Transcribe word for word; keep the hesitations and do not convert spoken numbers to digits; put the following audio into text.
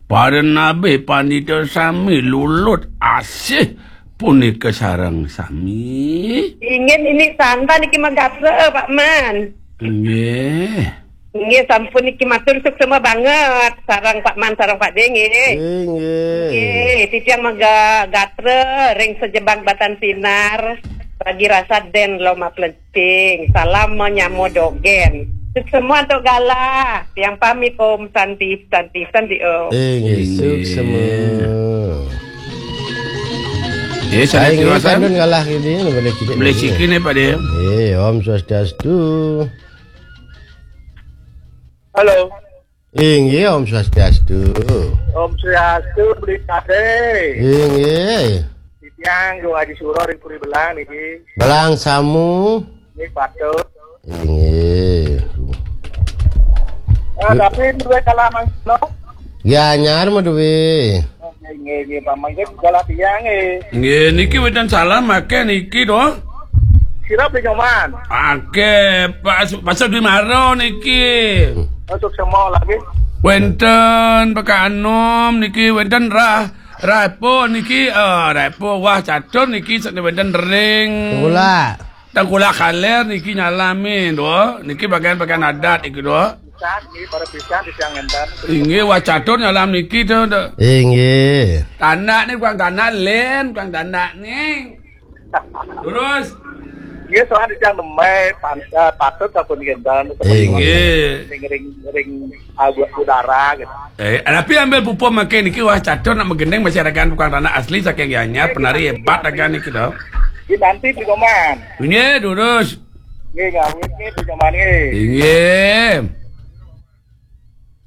Para nabi pandita sami lulut asih punika sareng sami. Inggih, niki santa niki magatra, Pak Man. Nggih. Nggih, sampun niki matur suksma banget sareng Pak Man sareng Pak De nggih. Inggih. Nggih, titiang mega gatra ring sajebag batan sinar, ragi rasa den loma plen- Ting, salam manyamo dogen. Suksma antuk galah. Tiang pamit, Om Santi, Santi, Santi, Om. Inggih, inggih. Suksma. Eh, Santi, inggih, Wasan. Kandun galah gini, boleh sikit. Boleh sikit ni, Pak Dia. Eh, Om Swastiastu. Halo. Inggih, Om Swastiastu. Om Swastiastu, Beli Kade. Inggih. Titiang, Gung Haji Suro, ring Puri Belang, niki. Belang Samu. Niki patut. Inggih. Eh, tapi duwe kalah mangkeno? Gianyar mah duwe. Nggih, nggih, nggih, Pak, mangke galah tiang, nggih. Nggih, niki wénten salam akéh niki to. Sira pinyoman. Akéh, Pak Su-, Pak Sudi Maro niki. Masuk semua lagi. Wénten Pak Anom niki, wénten Rah, Rah Epo niki, eh, Rah Epo, wah, catur niki, sakné wénten ring. Tengkulak. Tengkulak Kaler niki nyalami, to. Niki bagian-bagian adat niki, to. Pisan, nggih, para pisan di tiang ngenten. Inggih, wah catur nyalam niki to, to. Inggih. Tanak ni, tukang tanak, Lén, tukang tanak ni. Terus? Nggih, soal di tiang nembe, pan-, eh, patut sampun ngenten. Inggih. Ring, ring, ring, ah, udara, gitu. Eh, tapi ambil pupuk makin niki, wah catur nak magending masyarakat tukang tanak asli saking Gianyar, penari hebat agan niki, to. Nggih, nanti di Goman. Inggih, terus. Nggih, ngawit nggih, di Goman, nggih. Inggih.